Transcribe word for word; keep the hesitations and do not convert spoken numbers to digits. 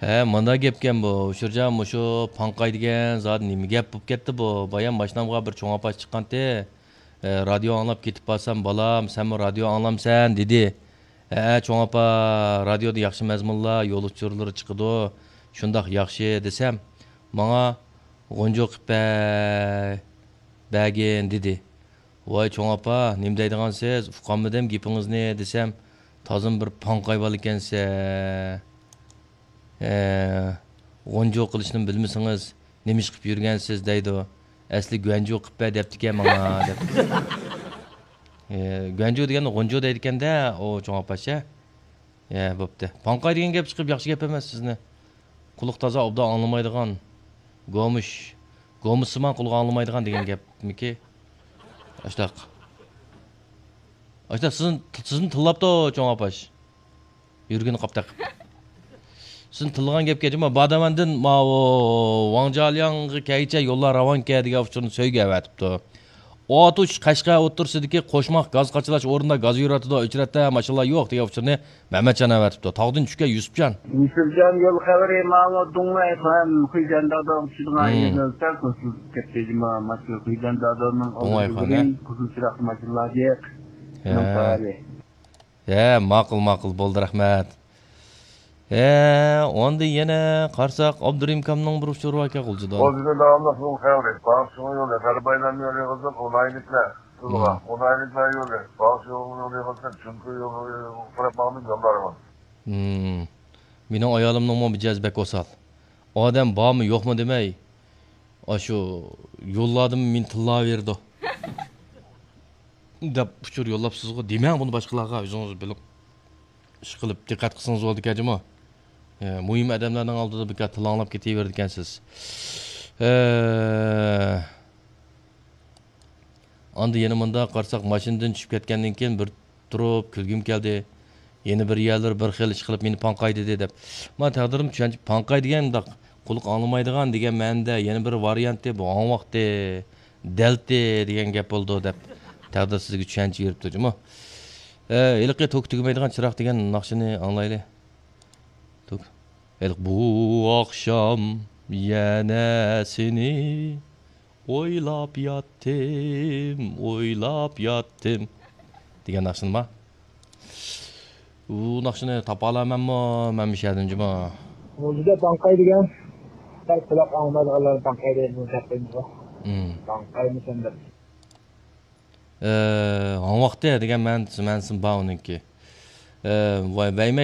ھە، مانا گەپكەن بۇ. ئۇچۇرجان، مۇشۇ پاڭقاي دېگەن زادى نېمە گەپ بوپ كەتتى بۇ؟ بايام ماشىنامغا بىر چوڭ ئاپاش چىققانتى. ھە، رادىيو ئاڭلاپ كېتىپ بارسام، بالام، سەنمۇ رادىيو ئاڭلامسەن؟ دېدى. ھە، چوڭ ئاپا، رادىيودا ياخشى مەزمۇنلار، يول ئۇچۇرلىرى چىقىدۇ. شۇنداق ياخشى دېسەم، ماڭا غۇنجۇ قىپ بە-، بەرگىن دېدى. ۋاي چوڭ ئاپا، نېمە دەيدىغانسىز؟ ئۇقالمىدىم گېپىڭىزنى دېسەم، تازىمۇ بىر پاڭقاي بالىكەنسە. ھە، غۇنجۇ قىلىشنىمۇ بىلمىسىڭىز، نېمە ئىش قىپ يۈرگەنسىز دەيدۇ. ئەسلى گۈەنجۇ قىپ بە دەپتىكەن ماڭا دەپ. ھە، گۈەنجۇ دېگەننى غۇنجۇ دەيدىكەن-دە، ئۇ چوڭ ئاپاش ھە. ھە، بوپتۇ. پاڭقاي دېگەن گەپ چىقىپ ياخشى گەپ ئەمەس سىزنى. قۇلىقى تازا ئوبدان ئاڭلىمايدىغان. گومۇش. گومۇشسىمان قۇلىقى ئاڭلىمايدىغان دېگەن گەپمىكى؟ ئاشتاق. ئاشتاق سىزنى، سىزنى تىللاپتۇ چوڭ ئاپاش. يۈرگىنى قاپتاق. سىزنى تىللىغان گەپكە جۇمۇ بادامەندىن ماۋۇ ۋاڭجالياڭغا كەيچە يوللار راۋانكەن دېگەن ئۇچۇرنى سۆيگە ئەۋەتىپتۇ. ئوتۇش قەشقەر ئوتتۇرىسىدىكى قوشماق گاز قاچىلاش ئورنىدا گاز يۈرۈۋاتىدۇ، ئۆچرەتتە ماشىنىلار يوق دېگەن ئۇچۇرنى مەمەتجان ئەۋەتىپتۇ. تاغدىن چۈشكەن يۈسۈپجان. يۈسۈپجان يول خەۋىرى ماڭا دۇڭلا ئېف ئېم خۇيجەن دادام چۈشىدىغان يېرىدىن سەل توسۇلۇپ كەتتى جۇمۇ. ماشىنا خۇيجەن دادامنىڭ ئوڭاي ئالدىدا خانە. بولۇڭ، قىزىل چىراغ ماشىنىلار جىق. ھە. ھە، ماقۇل، ماقۇل، بولدى، رەھمەت. ھە، ئاندىن يەنە قارىساق، ئابدۇرېھىم ئاكامنىڭ بىر ئۇچۇرى باركەن غۇلجىدا. غۇلجىدا داۋاملىق يول خەۋىرى. باغچىنىڭ يولى، غەربايلارنىڭ يولى يىغىلسۇن، ئۇنايلىكلار، سىلىغا. مم. ئۇنايلىكلار يولى، باغچىنىڭ يولى يىغىلسۇن، چۈنكى يولغا قاراپ ماڭدىم، يوللارغا. مم. مېنىڭ ئايالىمنىڭمۇ مىجەزى بەك ئوسال. ئادەم بارمۇ، يوقمۇ دېمەي، ئاشۇ يوللاردىمۇ مېنى تىللاۋېرىدۇ. دەپ ئۇچۇر يوللاپسىزغۇ، دېمەڭ بۇنى باشقىلارغا، ئۆزىڭىز بىلىپ. ئىشقىلىپ دىققەت قىلسىڭىز بولىدىكەن جۇمۇ. ئە، مۇھىم ئادەملەرنىڭ ئالدىدا بىكار تىللاڭلاپ كېتىۋېرىدىكەنسىز. ئە، ئاندىن يەنە مۇنداق قارىساق، ماشىنىدىن چۈشۈپ كەتكەندىن كېيىن بىر تۇرۇپ كۈلگۈم كەلدى. يەنە بىر يەرلىرى بىر خىل ئىشقىلىپ مېنى پاڭقاي دېدى دەپ. مانا تەقدىرىم چۈشەنچە پاڭقاي دېگەن مۇنداق قۇلىقى ئاڭلىمايدىغان دېگەن مەنىدە، يەنە بىر ۋارىيانتى بۇ ھاڭۋاقتى، دەلتى دېگەن گەپ بولىدۇ دەپ تەقدىر سىزگە چۈشەنچە بېرىپتۇ جۇمۇ. ئە، ھېلىقى توكى تۈگىمەيدىغان چىراغ دېگەن ناخشىنى ئاڭلايلى. توك. ھېلىقى بۇ ئاخشام يەنە سېنى ئويلاپ ياتتىم، ئويلاپ ياتتىم دېگەن ناخشىنىما؟ ئۇ ناخشىنى تاپالايمەنمۇ مەن مۇشۇ يەردىن جۇمۇ؟ غۇلجىدا پاڭقاي دېگەن، سەل قۇلاق ئاڭلىمايدىغانلارنى پاڭقاي دەيدۇ، دەپ قويدۇق. مم. پاڭقايمۇ سەن دەپ. ئە، ھاڭۋاقتى دېگەن مەن-، مەنىسى بار ئۇنىڭكى. ئە، ۋاي، ۋەيمەي